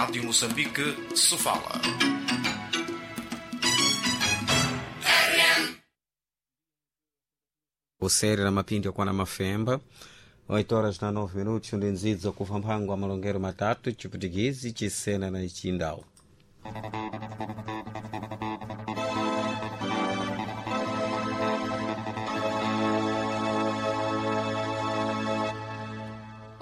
Rádio Moçambique, Sofala. Useri na mapindi okwana mafemba 8 horas na 9 minutos ndi nzidzo kufa mphango wa malongero matatu chiputikizi chisena na chindau.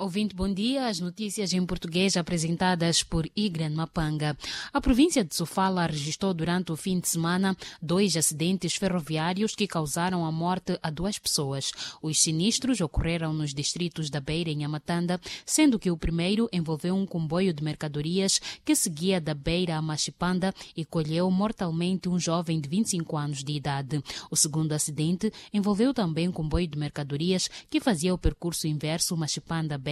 Ouvinte, bom dia. As notícias em português apresentadas por Igran Mapanga. A província de Sofala registrou durante o fim de semana dois acidentes ferroviários que causaram a morte a duas pessoas. Os sinistros ocorreram nos distritos da Beira e Nhamatanda, sendo que o primeiro envolveu um comboio de mercadorias que seguia da Beira a Machipanda e colheu mortalmente um jovem de 25 anos de idade. O segundo acidente envolveu também um comboio de mercadorias que fazia o percurso inverso Machipanda-Beira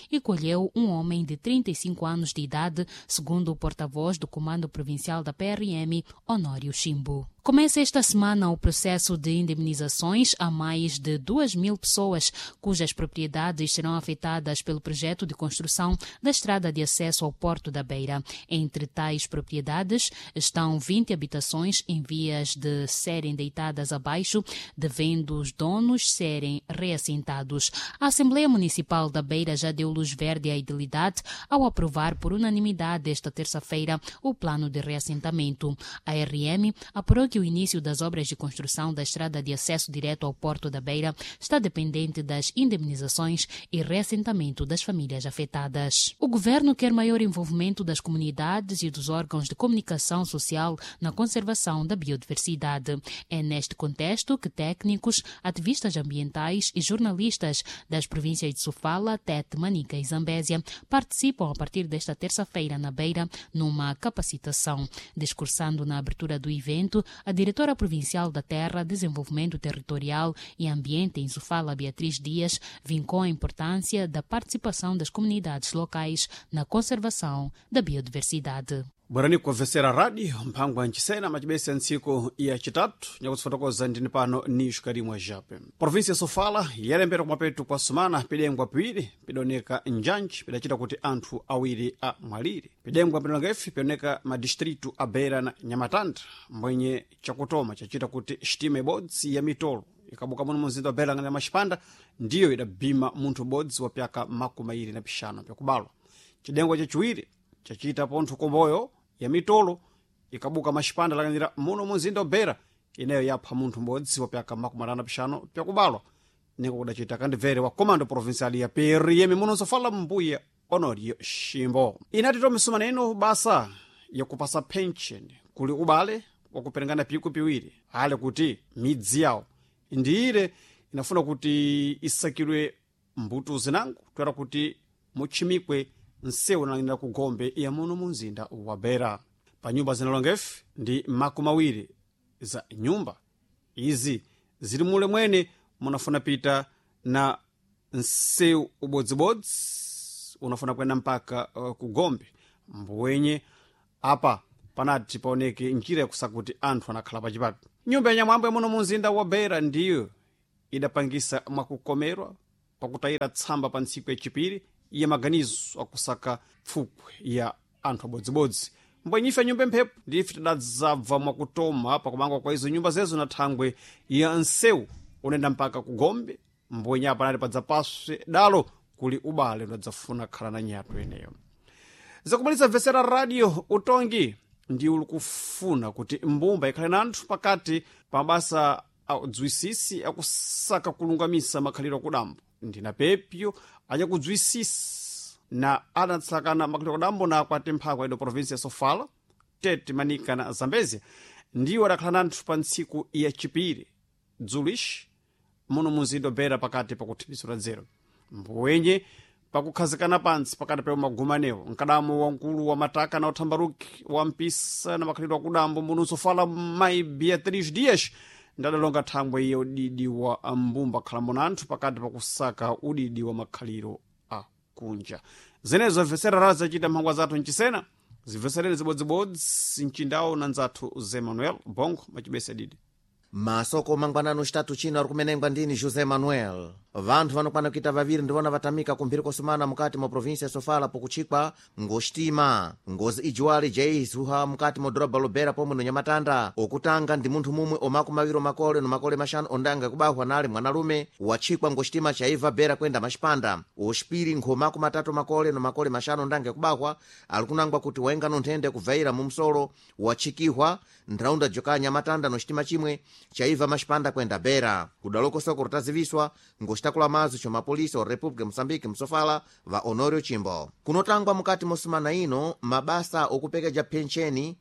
e colheu um homem de 35 anos de idade, segundo o porta-voz do Comando Provincial da PRM, Honório Chimbo. Começa esta semana o processo de indemnizações a mais de 2.000 pessoas cujas propriedades serão afetadas pelo projeto de construção da estrada de acesso ao Porto da Beira. Entre tais propriedades estão 20 habitações em vias de serem deitadas abaixo, devendo os donos serem reassentados. A Assembleia Municipal da Beira já deu luz verde à idilidade ao aprovar por unanimidade esta terça-feira o plano de reassentamento. A RM apurou que o início das obras de construção da estrada de acesso direto ao Porto da Beira está dependente das indemnizações e reassentamento das famílias afetadas. O governo quer maior envolvimento das comunidades e dos órgãos de comunicação social na conservação da biodiversidade. É neste contexto que técnicos, ativistas ambientais e jornalistas das províncias de Sofala, Tete, Manica e Zambésia participam a partir desta terça-feira na Beira numa capacitação. Discursando na abertura do evento, a diretora provincial da Terra, Desenvolvimento Territorial e Ambiente em Sofala, Beatriz Dias, vincou a importância da participação das comunidades locais na conservação da biodiversidade. Bwerani kumvesera radio mphangwa ncisena macibese ntsiku ya citatu nyakutsifotokoza ndini pano ni xikarimwa jape. Província ya Sofala yalembera kumapetu kwa sumana pidengwa piwiri pidoneka njanji pidacita kuti anthu awiri amwalire. Pidengwa pidoneka ifi pidoneka madistritu a Beira na Nhamatanda, mbwenye chakutoma chacita kuti xitima ibodzi ya mitolo ikabuka muno mumzinda wa Beira ngana Machipanda ndiyo idabima munthu ubodzi wa pyaka 25 pyakubalwa. Cidengwa chaciwiri chacita pontho komboyo ya mitolo ikabuka Maxipanda lakanira muno mumzinda wa Beira ineyo yapha munthu m'bodzi wa pyaka 55 pyakubalwa. Niko kudacita kandibvere wa comando provincial ya PRM muno Sofala mbuya Honorio Shimbo. Inati tomisumana ino basa yakupasa pension kuli ubale wakuperengana piku piwiri ale kuti midzi yawo ndiire inafuna kuti isakidwe mbuto zinango toera kuti mutchimikwe nsewu nalangira ku gombe ya muno mumzinda wa Beira. Pa nyumba zinalongefe ndi 20 za nyumba izi zili mule mwene munafuna pita na nsewu ubodzibodzi unafuna kuyenda mpaka ku gombe mbwenye apa panati paoneke njira yakusaka kuti anthu anakhala pachipapi. Nyumba ya nyamwambo ya muno mumzinda wa Beira ndiyo idapangisa mwakukomerwa pakutayira tsamba pa ntsiku yachipiri ya maganizo akusaka pfupwe ya anthu abodzibodzi. Mbwenyife nyumba mphepo ndife tidadzabva mwakutoma pakumangwa kwa izo nyumba zezo na thangwe ya nsewu unenda mpaka ku gombe mbwenye apa nati padzapaswe dalo kuli ubale unadzafuna khala na nyatu ineyo. Zakumaliza vesera radio utongi ndi uli kufuna kuti mbumba ikhale na anthu pakati pa mabasa audzwisisi akusaka kulungamisa makhaliro akudambo ndina pepyo anyakudzwisisa na anatsakana makhaliro akudambo na akwati mphakwa ido província ya Sofala, Tete, Manica na Zambezia ndiwo adakhala na anthu pa ntsiku yachipiri dzulishi muno mumzinda wa Beira pakati pakuthimisira dzero mbwenye pakukhazikana pantsi pakati pa magumanewo mkadamo wamkulu wa mataka na uthambaruki wa mpisa na makhalidwe akudambo muno Sofala mai Beatriz Dias ndadalonga thangwe ya udidi wa mbumba khalambo na anthu pakati pakusaka udidi wa makhaliro akunja. Zenezo mvesera razi zacita mphangwa zathu mcisena zimvesereni zibodzibodzi mcindawo na nzathu Zé Manuel Bongo macibese didi. Masoko mangwanano xitatu chino ari kumenengwa ndini José Manuel. Vanthu vanokwana kuita vaviri ndivona vatamika kumphiri kosumana mukati mwa provinsia ya Sofala pokuchikwa ngoxitima. Ngozi ijiwali jaizuha mukati mwa doroba Lobera pomwe no Nyamatanda. Okutanga ndi munthu mumwe omaku maviri omakole no makole maxanu ondanga kubahwa nali mwanalume wachikwa ngoxitima chaiva Bera kwenda Maxipanda. Oxipiri nkhomaku matatu makole no makole maxanu ondanga kubahwa ali kunangwa kuti waenga no nthenda yakubvaira mu msolo wachikihwa ntharaunda joka Nyamatanda no xitima chimwe chaiva Maxipanda kwenda Bera. Kudalokosoko rutaziviswa ngoxitakula mazo chomapolisa wa República Moçambique msofala va Honório Chimbo. Kunotangwa mukati mosumana ino mabasa okupekeja pencheni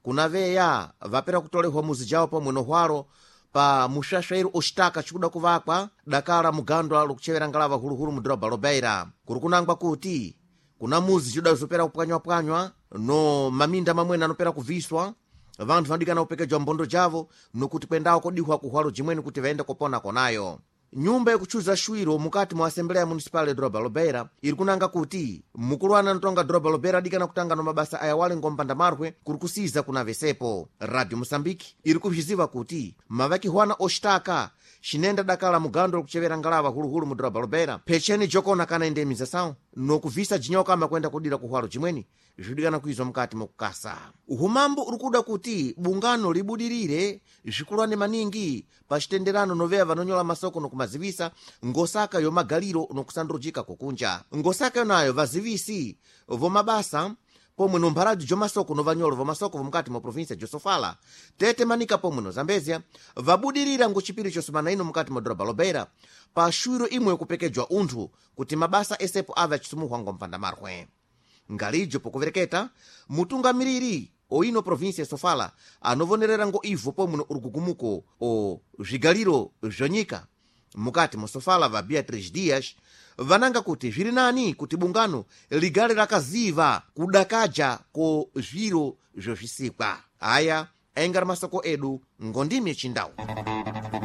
kunaveya vapera kutolehwa muzi jawo pomwe nohwalo pa muxaxeiro oxitaka cikuda kuvakwa dakala mugandwa lokuchevera ngalava huluhulu mu doroba Lobeira. Kuri kunangwa kuti kuna muzi cida zopera kupwanywapwanywa no maminda mamwene anopera kuviswa, vanthu vanodikana kupekejwa mbondo javo nokuti kwendawo kodihwa kuhwalo jimweni kuti vaende kopona konayo. Nyumba yakuchuza xwiro mukati mwa asembleya municipal ya doroba Lobeira iri kunanga kuti mukulu anotonga doroba Lobeira adikana kutanga no mabasa aya wale ngompanda marwe kuri kusiza kuna vesepo. Radio Moçambique iri kubziziva kuti mavakihwana oxitaka xinenda dakala mugando lokuchevera ngalava huluhulu mu doroba Lobeira phecheni jokona kana indemnização nokuvisa jinyoka amakwenda kudira kuhwalo jimweni zvidikana kuizwa mukati mokukasa. Uhumambo uri kuda kuti bungano libudirire zvikulwane maningi pa xitenderano noveya vanonyola masoko nokumazivisa ngosaka yomagaliro nokusandurujika kokunja. Ngosaka yonayo vazivisi vomabasa pomwe no mpharadzi jomasoko no vanyolo vomasoko vomukati mwa provinsia josofala Tete, Manika pomwe no Zambezia vabudirira ngochipiri chosumana ino mukati mwa doroba Lobeira pa xwiro imwe yokupekejwa unthu kuti mabasa esepo ave achisumuhwa ngompanda marwe. Ngalijo pokuvereketa mutungamiriri oino provinsia ya Sofala anovonerera ngo ivo pomwe no urugugumuko o zvigaliro zvonyika mukati mwa Sofala va Beatriz Dias vananga kuti zviri nani kuti bungano ligale rakaziva kudakaja ko zviro zvozvisikwa. Aya aingari masoko edu ngondimi yechindau.